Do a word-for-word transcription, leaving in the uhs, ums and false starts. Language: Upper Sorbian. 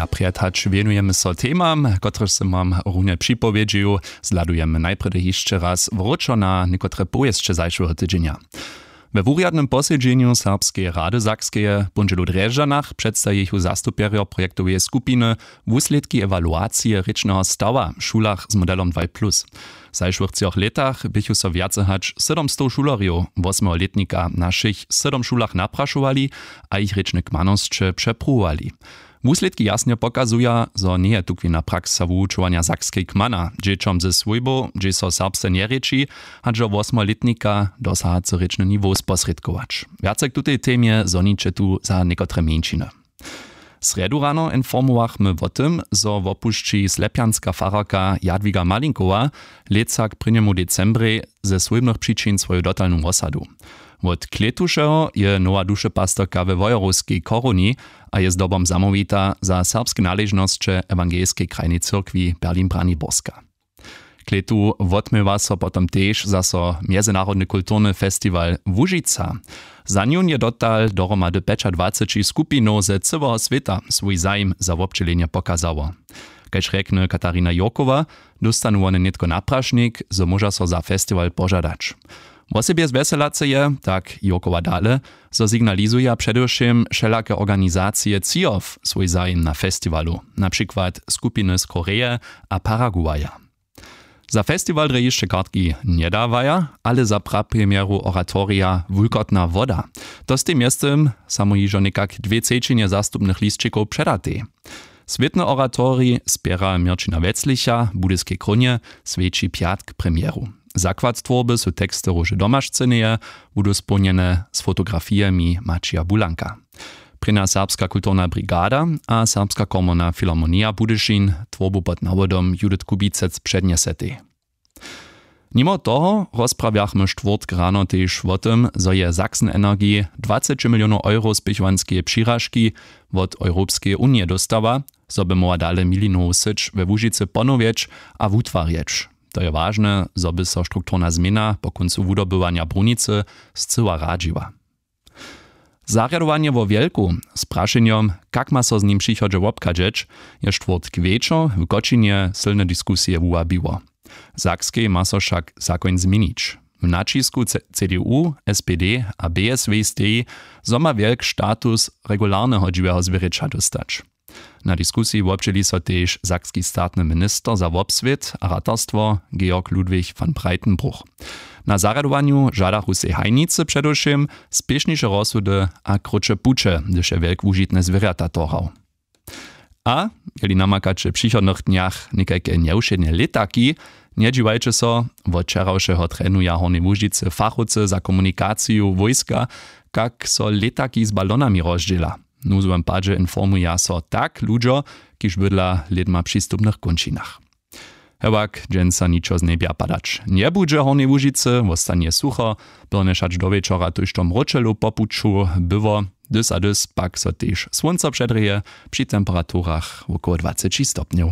A prjed hač wěnujemy so temam, kotrež sym wam runje připowědźił, zhladujemy najprjedy hišće raz wróćo na někotre powěsće zašłeho tydźenja. We wurjadnym posedźenju Serbskeje rady Sakskeje w póndźelu w Drježdźanach předstajichu zastupjerjo projektoweje skupiny wuslědki ewaluacije rěčneho stawa w šulach z modelom dwaj plus. W zašłych třoch lětach běchu so wjace hač sydomstow šulerjow wosmeho lětnika na wšěch sydom šulach naprašowali a jich rěčne kmanosće přepruwowali. Wuslědki jasnje pokazuja, zo njeje tukwina praksa wuwučowanja sakskej kmana dźěćom ze swójbow, hdźež so serbsce njerěči, hač do wosmeho lětnika dosahacy rěčny niwow sposrědkować. Wjace k tutej temje zhoniće tu za někotre mjeńšiny. Srjedu rano informowachmy wo tym, zo wopušći slepjanska fararka Jadwiga Malinkowa lětsa k prěnjemu decembrej ze swójbnych přičin swoju dotalnu wosadu. Wot klětušeho je nowa dušepastyrka we wojerowskej koruni a je zdobom zamołwita za serbske naležnosće ewangelskej krajnej cyrkwi Berlin-Braniborska. Klětu wotměła so potom tež zaso mjezynarodny kulturny festiwal Łužica. Za njón je dotal dohromady pjećadwaceći skupinow ze cyłeho swěta swój zajim za wobdźělenje pokazało. Kaž rjekny Katarina Jurkowa, dóstanu wone nětko naprašnik, zo móža so za festiwal požadać. Wosebje zwjeselace je, tak Jurkowa dale, zo signalizuja předewšěm wšelake organizacije třijow swój zajim na festiwalu, na přikład skupiny z Koreje a Paraguaja. Za festiwal drje hišće kartki njedawaja, ale za prapremjeru oratorija Wulkotna woda. To stej mjeztym samo hižo někak dwě třećinje zastupnych lisćikow předatej. Swětny oratorij spěra Měrćina Weclicha w Budyskej krónje swjeći pjatk premjeru. Zakład twórby su teksty Róže Domašcyneje, budu społnjene z fotografijemi Maćija Bulanka. Prěnja serbska kulturna brigada a Serbska komorna filharmonija Budyšin twórbu pod nawodom Judith Kubicec přednjesetej. Nimo toho rozprawjachmy štwórtk rano tež wo tym, zo je Sachsen Energy dwaceći milionow euro spěchowanskeje přiražki wot Europskeje unije dóstała, zo by móhła dale milinowu syć we Łužicy ponowjeć a wutwarjeć. To je wažne, zo by so strukturna změna po kóncu wudobywanja brunicy scyła radźiła. Zarjadowanje wo wjelku z prašenjom, kak ma so z nim přichodźe wobchadźeć, je štwórtk wječor w kočinje sylne diskusije wuwabiło. W sakskej ma so wšak zakoń změnić. W naćisku cdu, spd a bsw steji, zo ma wjelk status regularneho dźiweho zwěrjeća dóstać. Na diskusiji wobdźěli so tež sakski statny minister za wobswět a ratarstwo Georg Ludwig von Breitenbruch. Na zarjadowanju žadachu sej hajnicy předewšěm spěšniše rozsudy a krótše puće, hdyž je wjelk wužitne zwěrjata torhał. A jeli namakaće w přichodnych dnjach někajke njewšědne lětaki, njedźiwajće so, wot wčerawšeho trenuja w Hornjej Łužicy fachowcy za komunikaciju wójska, kak so lětaki z balonami rozdźěla. W nuzowym padźe informuja so tak ludźo, kiž bydla w lědma přistupnych kónčinach. Hewak dźensa ničo z njebja padać njebudźe w Hornjej Łužicy, wostanje sucho, byrnje šać do wječora tójšto mróčelow po puću było, dys a dys pak so tež słónco předrěje při temperaturach wokoło dwaceći stopnjow.